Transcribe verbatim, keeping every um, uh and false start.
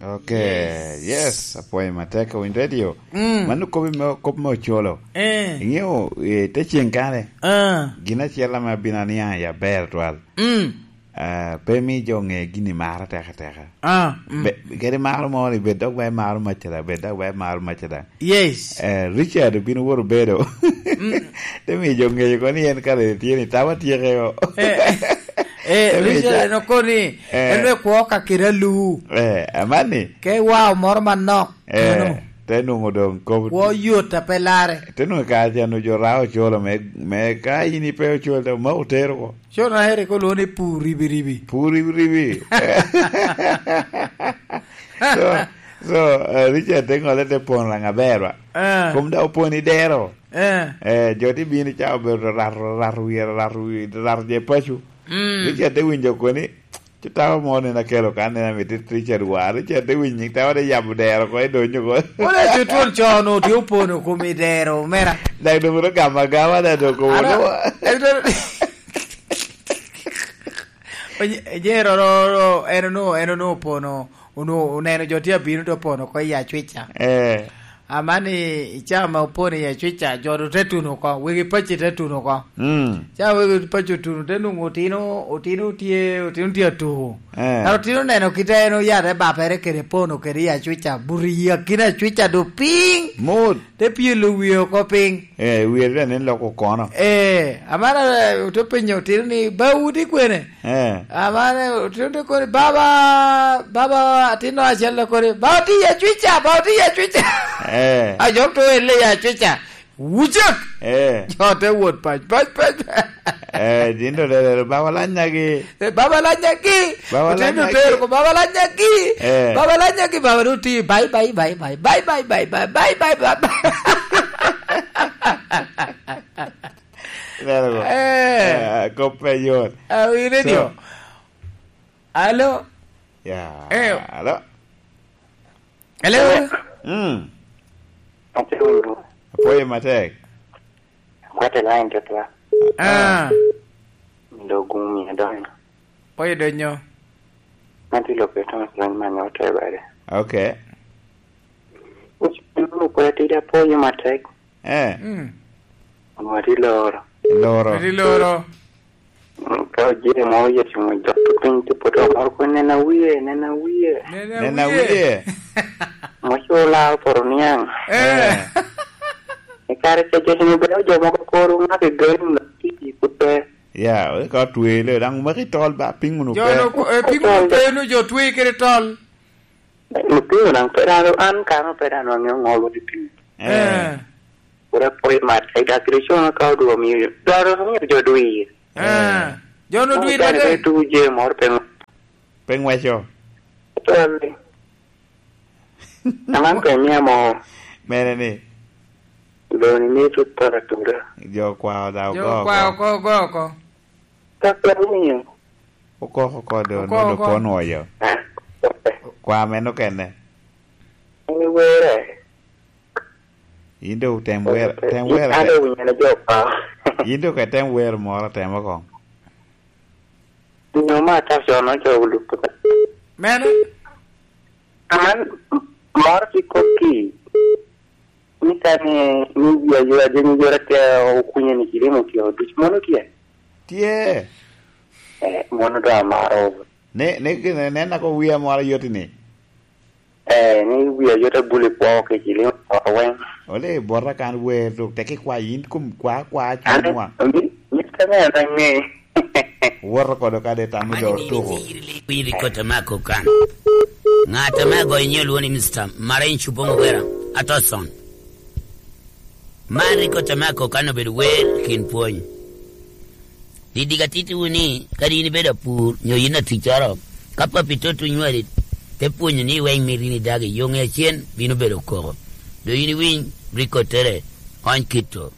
Ok, yes. Yes, apwoyo matek, owiny radio. Mm. Mano kop me, kop me ocolo. Eh. Ingeyo, eh, te ceng kane. Ah. Gin acel ame abino aniaŋ i aber twal. Mm. Ah, pe mi jo ŋe gini maro teke teke. Ah, mm. Be, kadi maro mo ni, bed dok ba imaro macca da, bed dok ba imaro macca da. Yes. Eh, Richard obino woto bedo. Mm. Te mi jo ŋeyo ko ni en kare tye ni tawa tyeke o. Eh, eh, Te mi Richard ca- en okoni, Eh. en wek kwo ka kite alu. Eh, amani. Ke wao moro manok. Eh, Ano? Te nwoŋo doŋ kop. Kwo yot a pe lare. Te nwoŋo kare ca nwoŋo jo rao ocolo me, me ka in ipe ocol, te omako otero ko. Cona ere ko lwongo ni pur ribi ribi. Pur ribi ribi. So, so, eh, Richard te ŋole te pon raŋ aber wa. Eh. Kom da opon i dero. Eh. Eh, jo te bino ca obedo rato, rato wiye, rato wiye, rato je paco. Mm. Richard te winjo koni, ci tawa mo nen akelo kan nen amit Richard wa. Richard te winyo, tawa te yabo dero ko, edonyo ko. Wala jo twon con otye opono kom i dero, mera. Dak doŋ ro gama gama da doŋ komo Ara, lo. Dak doŋ Onye-, Onyero ro, ro, en onwoŋo, en onwoŋo opono, onwoŋo oneno jo tye abino te opono oko i Acwica. Eh. Amani, i caa ma opono i Acwica, jo doŋ te tuno oko, wegi paco te tuno oko. Mm. Caa wegi paco otuno, te nwoŋo otino, otino tye, otino tye atuko. Eh. Kara otino oneno kite en oyate bapere kede pono kede i Acwica, buto i akina Acwica doŋ piny. Mot. Te pyelo wie oko piny. Eh, wie doŋ nen loko kono. Eh, amara, eh, ote penyo otino ni, "Ba wudi kwene?" Eh. Amara, eh, otino te koni, "Baba, baba, atino acel te koni, 'Ba oti i Acwica, ba oti i Acwica.'" Eh. A jo to elle i Acwica. Wucak! Eh. Jo te wot pac, pac, pac. Eh, din do lelero, "Baba lanyagi." Eh, "Baba lanyagi." Baba Otin lanyagi. Otero ko, "Baba lanyagi." Eh. "Baba lanyagi, baba do ti." Bye, bye, bye, bye. Bye, bye, bye, bye. Bye, bye, bye, bye. Lelero. Eh. Eh, kop pe yot. Ah, wi radio. So. Alo. Ya, Eh. Alo. Hello? Mm. Ate winyo. Apwoyo matek. Akwate line twatwa. Ah. Ah. Ndo gumi adonyo. Apwoyo donyo. Mati lope Thomas Lweny Manya ote bade. Okay. Uch-, uch-, uch-, apwoyo matek. Eh. Mm. Onwati loro. Loro. Onwati loro. Mm, ka ojee mo oye cuŋ ojok piny, te poto moro ko, "Nena wie, nena wie." Nena Nena wie. Wie. Mo co laro poto niaŋ. Eh. Eh. I kare ca jo cuŋ obedo jo mogo koro ŋak i gali, ŋak i put pe. Ya, ka otwele, daŋ omaki tol ba, piny wunu Jo pe. No ko-, eh, piny wunu pe, nu jo twe kede tol. Lutino daŋ pe dano, an kano pe dano aŋeo ŋo lwod i piny. Eh. Eh. Pwod apwoyo mat, ai, dak kede cono ka odwo miyo, dwaro miyo jo dwir. Eh. Eh. Jo no dwir Dano mate. Pe tugo je moro pe ŋ-, Pe ŋweco. Tolli. Aman pe mia mo. Mene ni? Doni ni tut tol atura. Jo kwa oda Jo ogo kwa oko. Oko, ogo oko. Ka pe winyo. Okoko oko do, Okoko no do oko. Pon oyo. Ah, okay. Kwa meno kene. Ni were. In do tem were, tem were An ke-, do winyo na jo pa. In do ke tem were moro, tem oko. Nyo ma ta cono jo olupo. Mene? An moro ki kokki. Ni ka ni, ni ji a yora, jo ni yora ke okunye ni kilimo ki oduc. Mono tye? Tye. Eh, mono do amaro. Ne, ne, ne, ne nako wia moro yoti ni. Eh, ni wia yota buli kwo ke kilimo kwo weng. Ole bota kan wer dok teki kwa yin kum kwa, kwa Ane, chunwa. Mi, mi kane na nge. Woto kodo kade tamo jo tuko. Winyo kota mako kan. Ngata me agoyo nyo lwoni Mister Maren Chubongo Wera, Atoson. Man rik ote mako kan obedo wer kin pwony. Didik atittiwu ni, kadi in ibedo apur, nyo in aticcoro, ka papi tot onywali, te pwonyo ni weng mito in idag i yoŋe acen, bino bedo koko. Doŋ in iwiny, rik ottere, ony kito.